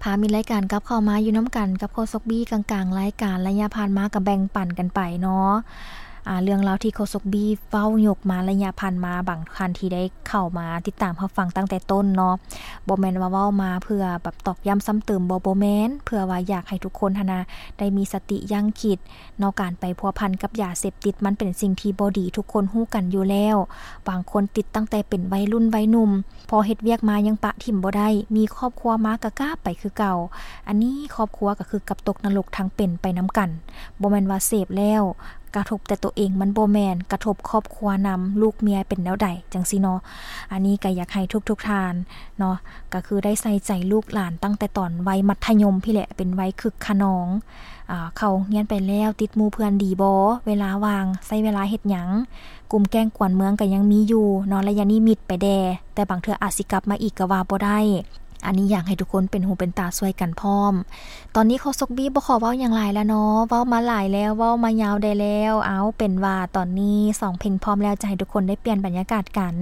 ພາມິດລາຍການກັບເຂົ້າມາຢູ່ນຳກັນກັບໂຄສົກບີກາງໆລາຍການ. ໄລຍະຜ່ານມາກໍແບ່ງປັນກັນໄປເນາະ ອາ ເລື່ອງລາວທີ່ໂຄສົກບີເວົ້າຍົກມາໄລຍະຜ່ານມາ, ບາງທ່ານທີ່ໄດ້ເຂົ້າມາຕິດຕາມຮັບຟັງຕັ້ງແຕ່ຕົ້ນເນາະ, ບໍ່ແມ່ນວ່າເວົ້າມາເພື່ອແບບຕອກຢ້ຳຊ້ຳເຕີມ, ບໍ່, ບໍ່ແມ່ນ, ເພື່ອວ່າຢາກໃຫ້ທຸກຄົນຫັ້ນນະ ໄດ້ມີສະຕິຢັ້ງຄິດເນາະ, ການໄປພົວພັນກັບຢາເສບຕິດມັນເປັນສິ່ງທີ່ບໍ່ດີ, ທຸກຄົນຮູ້ກັນຢູ່ແລ້ວ. ບາງຄົນຕິດຕັ້ງແຕ່ເປັນໄວລຸ້ນໄວໜຸ່ມ, ພໍເຮັດວຽກມາຍັງປະຖິ້ມບໍ່ໄດ້, ມີຄອບຄົວມາກະກາບໄປຄືເກົ່າ. ອັນນີ້ຄອບຄົວກໍຄືກັບຕົກນະລົກທັງເປັນໄປນຳກັນ. ບໍ່ແມ່ນວ່າເສບແລ້ວກະທົບແຕ່ໂຕເອງ, ມັນບໍ່ແມ່ນ, ກະທົບຄອບຄົວນຳ, ລູກເມຍເປັນແນວໃດຈັ່ງຊີ້ເນາະ. ອັນນີ້ກໍຢາກໃຫ້ທຸກໆທ່ານເນາະ ກໍຄືໄດ້ໃສ່ໃຈລູກຫຼານຕັ້ງແຕ່ຕອນໄວມັດທະຍົມພີ້ແຫຼະ, ເປັນໄວຄຶກຂະນອງ. ອາ ເຂົ້າໂຮງຮຽນໄປແລ້ວ ຕິດໝູ່ເພື່ອນດີບໍ່? ເວລາວ່າງໃຊ້ເວລາເຮັດຫຍັງ? ກຸ່ມແກ້ງກວນເມືອງກໍຍັງມີຢູ່ເນາະ, ໄລຍະນີ້ມິດໄປແດ່, ແຕ່ບາງເທື່ອອາດຊິກັບມາອີກກໍວ່າບໍ່ໄດ້. ອັນນີ້ຢາກໃຫ້ທຸກຄົນເປັນຫູເປັນຕາຊ່ວຍກັນພ້ອມ. ຕອນນີ້ໂຄສົກບີບໍ່ຂໍເວົ້າຫຍັງຫຼາຍແລ້ວເນາະ, ເວົ້າມາຫຼາຍແລ້ວ, ເວົ້າມາຍາວໄດ້ແລ້ວ. ເອົາ ເປັນວ່າຕອນນີ້ສອງເພງພ້ອມແລ້ວ, ຈະໃຫ້ທຸກຄົນໄດ້ປ່ຽນບັນຍາກາດກັນ.